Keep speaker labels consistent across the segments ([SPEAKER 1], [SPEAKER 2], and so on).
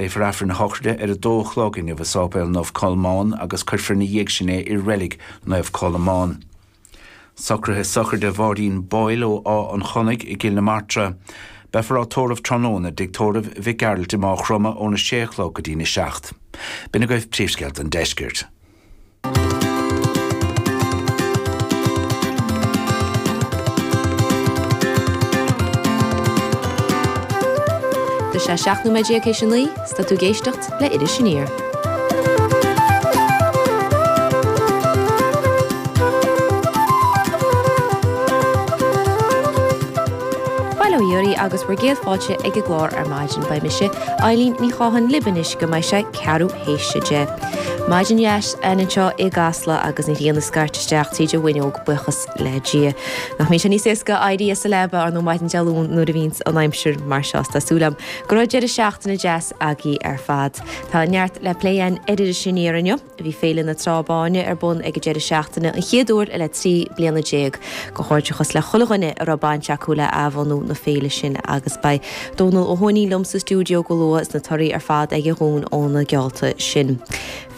[SPEAKER 1] Léifear Aifreann a shochraide ar a dó a chlog inniu i Sáipéal Naomh Colmán agus cuirfear ina dhiaidh sin é i Reilig Naomh Colmán. Socruithe sochraide Mháirín Boyle ó Áth an Chonnaigh i gCill na Martra. Beifear á tórramh tráthnóna i dTigh Tórraimh Mhic Gearailt i Máigh Chromtha óna sé a chlog go dtína seacht. B'in agaibh príomhscéalta an deiscirt.
[SPEAKER 2] Tá sé 17 nóiméad théis a 9, 's tá tú ag éisteacht le Iris Aniar. Bail ó Dhia oraibh agus bhur gcéad fáilte ag an gclár ar maidin. Beidh mise, Eileen Ní Chatháin libh anois go mbeidh sé ceathrú théis a 10. Maidin dheas againn anseo i gCasla agus an ghrian ag scairteadh isteach tríd an bhfuinneog, buíochas le Dia. Nach mbíonn sé níos éasca éirí as an leaba ar ndóigh maidin Dé Luain nuair a bhíonns an aimsir mar seo. Tá súil agam go raibh deireadh seachtaine deas agaibh ar fad. Tá neart le plé againn ar Iris Aniar inniu. Bhí Féile na Trá Báine ar bun ag an deireadh seachtaine an chéad uair le 13 bliana. Comhghairdeachas le chuile dhuine a raibh baint acu le athbhunú na féile sin agus beidh Dónal Ó hUaithnín liom sa stiúideo go luath is na torthaí ar fad aige dhúinn ó na geallta sin.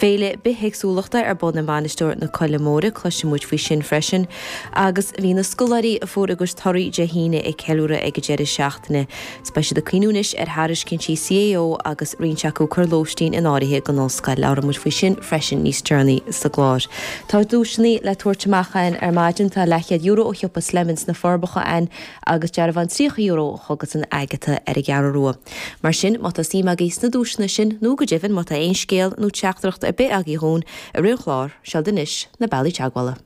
[SPEAKER 2] Féile bithéagsúlachta ar bun i Mainistir na Coille Móire, cloisfidh muid faoi sin freisin. Agus bhí na scoláirí a fuair a gcuid torthaí Dé hAoine ag ceiliúradh ag an deireadh seachtaine. 's beidh siad ag cuimhniú anois ar thairiscintí CAO agus roinnt acu ag cur lóistín in áirithe don ollscoil. Labhróidh muid faoi sin freisin níos deireanaí sa gclár. Tá duaiseanna le tabhairt amach againn ar maidin. Tá leathchéad euro ó shiopa Slemons sna Forbacha againn agus dearbhán €30 ó Chogas Agatha ar an gCeathrú Rua. Mar sin, má tá suim agaibh sna duaiseanna sin, nó go deimhin má tá aon scéal nó teachtaireacht ar bith agaibh dhúinn i rith an chláir, seo'd anois na bealaí teagmhála.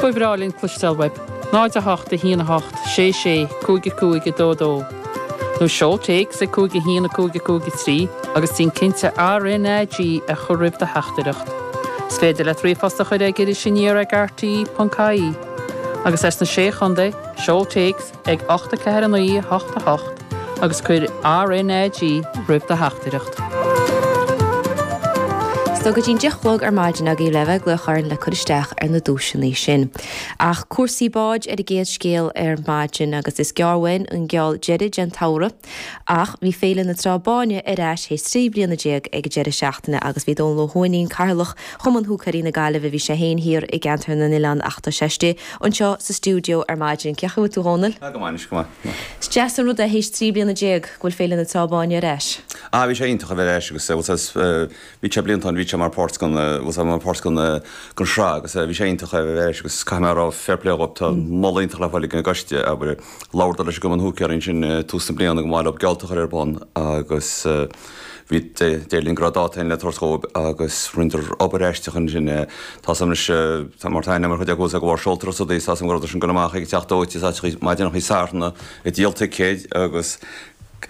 [SPEAKER 3] Ba bhreá linn cloisteáil uaibh. 0 8 1 8 6 6 5 5 2 2 Nó seol téacs ag 5 1 5 5 3 agus déan cinnte RNAG a chur roimh do theachtaireacht. Is féidir leat ríomhphost a chur ag irisaniar ag rte.ie agus as na Sé Chontae, seol téacs ag 8 4 9 8 8 agus cuir RnaG roimh do theachtaireacht.
[SPEAKER 2] Is tá go dtí'n 10 a chlog ar maidin agaibh le bheith ag glaoch orainn le cur isteach ar na duaiseanna sin. Ach cúrsaí báid ar an gcéad scéal ar maidin agus is gearr uainn an geall deiridh den tsamhradh. Ach bhí Féile na Trá Báine ar ais théis 13 bliana ag an deireadh seachtaine agus bhí Dónal Ó hUaithnín, Cathaoirleach Chumann Húicéirí na Gaillimhe, bhí sé féin thiar i gceantar na nOileán ach tá sé istigh anseo sa stiúideo ar maidin. Cén chaoi a bhfuil tú a Dhónaill?
[SPEAKER 4] Go maith anois, go maith.
[SPEAKER 2] Is deas an rud é théis 13 bliana go bhfuil Féile na Trá Báine ar ais.
[SPEAKER 4] Ah bhí sé iontach a bheith ar ais agus bhfuil 's bhí sé blianta ann bhí sé mar páirt den bhfuil 's mar páirt den den sraith agus bhí sé iontach a bheith ar ais agus caithfidh mé a rá fair play dhóibh tá moladh iontach le fáil ag an gcoiste abair labhradar leis an gCumann Húicéirí ansin tús na bliana go mba mhaith leo geallta a chur ar bun agus Bhí, deir linn go raibh dáta againn le tabhairt dhóibh agus rinneadar obair aisteach ansin. Tá 's agam anois, tá mar tá aithne agam ar chuid acu de bharr seoltóireacht is rudaí, tá 's agam go rabhadar sin ag dul amach ag an teach dóite is áiteachaí maidineachaí Satharna ag díol ticéid agus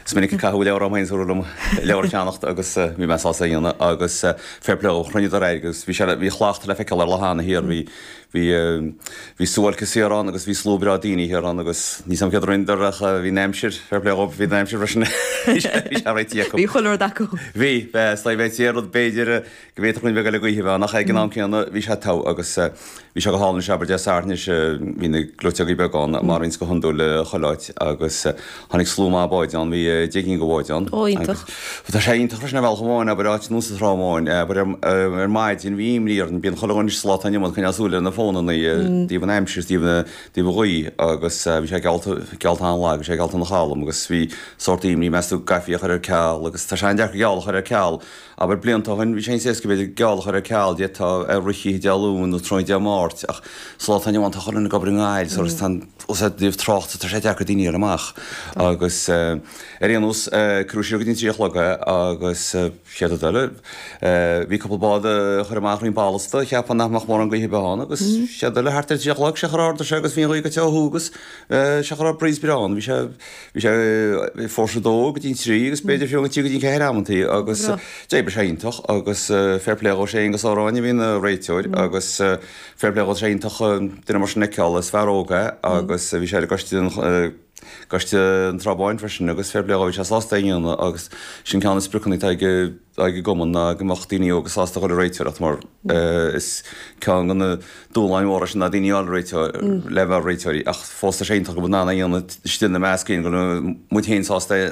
[SPEAKER 4] is minic a caitheadh leabhar orm féin is dúradh liom leabhar a cheannacht agus bhí mé sásta é a dhéanamh agus fair play dhóibh, chruinníodar airgead agus bhí sé, bhí shlacht le feiceáil ar Loch Eanna thiar, bhí Bhí, bhí suáilce saor ann agus bhí slua breá daoine thiar ann agus níl 's agam céard a rinneadar ach bhí an aimsir, fair play dhóibh, bhí an aimsir freisin, bhí sé, bhí sé réitithe acu.
[SPEAKER 2] Bhí chuile rud acu.
[SPEAKER 4] Bhí, is dóigh bheith aon rud b'fhéidir go bhféadfadh roinnt bheag eile gaoithe a bheith ann ach ag an am céanna bhí sé togha agus bhí sé go hálainn anois abair Dé Sathairn anois bhí na gleoiteogaí beaga ann mar a bhíonns go hiondúil chuile áit agus Tháinig slua maith báid ann, bhí 10 gcinn de bháid ann.
[SPEAKER 2] Ó, iontach.
[SPEAKER 4] Agus tá sé iontach freisin ar bhealach amháin, abair, áit nua sa Trá Bháin, abair, ar maidin bhí imní orainn, bíonn chuile dhuine anois sa lá atá inniu ann ag coinneáil súil ar na fónannaí, i dtaobh an aimsir is i dtaobh an ghaoth agus bhí sé geallta, geallta an-lag, bhí sé geallta ina chalm agus bhí sórt imní, meas tú, an gcaithfí é a chur ar ceal agus tá sé an-deacair geall a chur ar ceal. Abair, blianta ó shin, bhí sé níos éasca, b'fhéidir, geall a chur ar ceal, d'fhéadfá ar rith oíche Dé Luain nó tráthnóna Dé Máirt, ach sa lá atá inniu ann tá chuile dhuine ag obair i nGaillimh, so tá an, os i dtaobh tráchta, tá sé deacair daoine a fháil amach. Agus ar aon nós, cuireadh siar go dtí an 3 a chlog é agus chéad rud eile, bhí cúpla bád a chuir amach roinnt ballasta, cheapfá nach mbeadh mórán gaoithe ar bith ann agus chéad rud eile, thart ar 3 a chlog, sé chor ardaigh sé agus bhí an ghaoth goite ó thuaidh agus sé chor breeze breá ann, bhí sé, Bhí sé fórsa 2 go dtí an 3 agus b'fhéidir fiú go dtí an 4 amantaí agus d'oibrigh sé iontach agus fair play dhó, sé Aonghus Ó Ráinne a bhí ina réiteoir agus fair play dhó, tá sé iontach duine mar sin a fheiceáil, is fear óg é agus bhí sé ar an gcoiste den. gCoiste an Trá Báin freisin agus fair play dhó bhí sé sásta é a dhéanamh agus sin ceann de na spriocanna atá ag ag an gcumann ná go mbeadh daoine óga sásta a dhul ag réiteoireacht mar is ceann de na dúshláin mhóra sin ná daoine a fháil le réiteoir le bheith mar réiteoirí ach fós tá sé iontach go bhfuil in ann é a dhéanamh istigh ina measc féin go bhfuil muid féin sásta é.